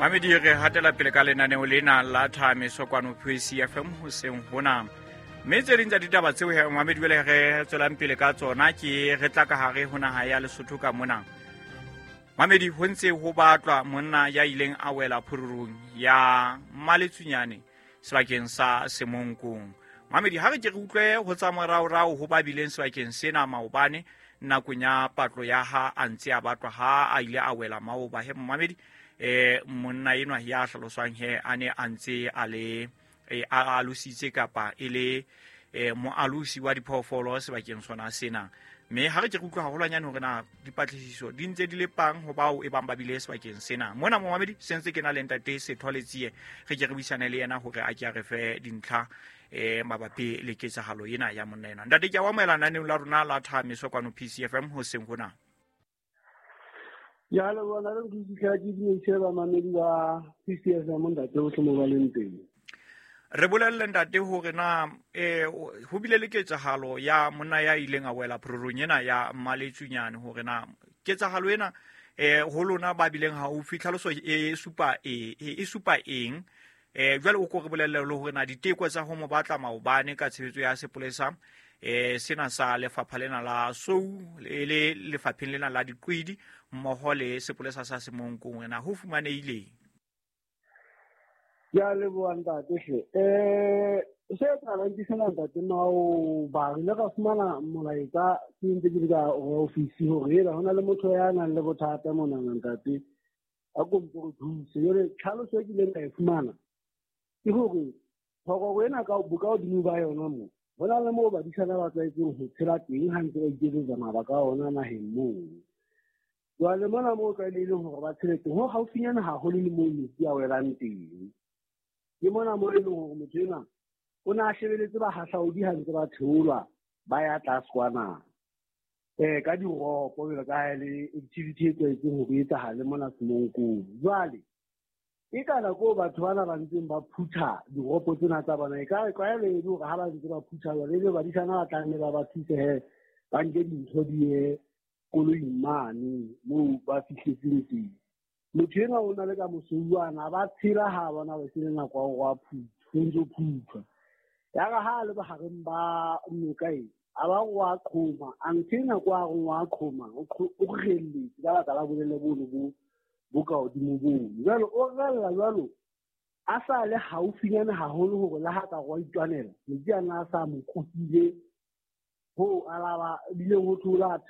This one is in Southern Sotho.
Mamedi, re hatela pele ka lenaneo lena la Thameso kwano PCFM hoseng hona, mme tse ding tsa ditaba tseo he mamedi jwale re tswelang pele ka tsona ke re tla ka hare ho naha ya Lesotho ka mona. Mamedi, ho ntse ho batlwa monna ya ileng a wela phururung ya Maletsunyane sebakeng sa Semonkong. Mamedi, ha re ke re utlwe ho tsa moraorao ho ba bileng sebakeng sena maobane nakong ya patlo ya ha a ntse a batlwa ha a ile a wela maoba. He mamedi, monna enwa ya hlaloswang he a ne a ntse a le a alositse kapa e le moalosi wa diphoofolo sebakeng sona sena. Mme ha re ke re utlwa haholwanyane hore na dipatlisiso di ntse di le pang ho bao e bang ba bile sebakeng sena. Mona momamedi se ntse ke na le ntate Setho Letsie, re ke re buisane le yena hore a ke a re fe dintlha mabapi le ketsahalo ena ya monna ena. Ntate, ke a o amohela naneong la rona la Thameso kwano PCFM hoseng hona. Ya leboha na le ke ke dumedise bamamedi ba PCFM, ntate ohle mo ba leng teng. Re bolelle ntate hore na ho bile le ketsahalo ya monna ya ileng a wela phororong ena ya Maletsunyane, hore na ketsahalo ena ho lona ba bileng haufi tlhaloso e supa e supa eng. Jwale o ko re bolelle le hore na diteko tsa ho mo batla maobane ka tshebetso ya sepolesa sena sa lefapha lena la Sou le lefapheng lena la Diqwidi mmoho le sepolesa sa Semonkong, na ho fumanehileng? Ke a leboha ntate hle. Se etsahalang ke sena ntate, maoba re ile ra fumana molaetsa ke ntse ke le ka office hore ela ho na le motho ya nang le bothata monana ntate, a kompo re thuse. Jwale tlhaloso e kileng ka e fumana ke hore phororo ena ka bokahodimo ba yona moo ho na le moo badisana ba tlwaetseng ho tshela teng ha ntse ba iketsetsa mabaka a ona naheng moo. Jwale mona moo tlwaelehileng hore ba tshele teng ho haufinyana haholo le moo metsi a welang teng. Ke mona moo e leng hore motho enwa o ne a shebeletse bahahlaodi ha ntse ba theolwa ba ya tlase kwana ka diropo, jwalo ka ha e le activity e tlwaetseng hore e etsahale mona Semonkong. Jwale e ka nako batho bana ba ntseng ba phutha diropo tsena tsa bona, e ka tlwaelo e le hore ha ba ntse ba phutha jwale ebe badisana ba tla nne ba ba thuse he ba nke dintho di ye koloing mane moo ba fihletseng teng. Motho enwa o na le ka mosouwana ba tshela ha bona ba sele nako ya hore a phuthe, ho ntso phuthwa. Ya re ha a le bohareng ba noka e, a ba wa qhoma, a ntho ena kwa reng wa qhoma, o relletse ka baka la bolele bono bo bo ka hodimo bono. Jwale o rella jwalo a sa le haufinyane haholo hore le ha ka wa itwanela, metsi a na a sa mo kukile ho alaba bileng ho thola.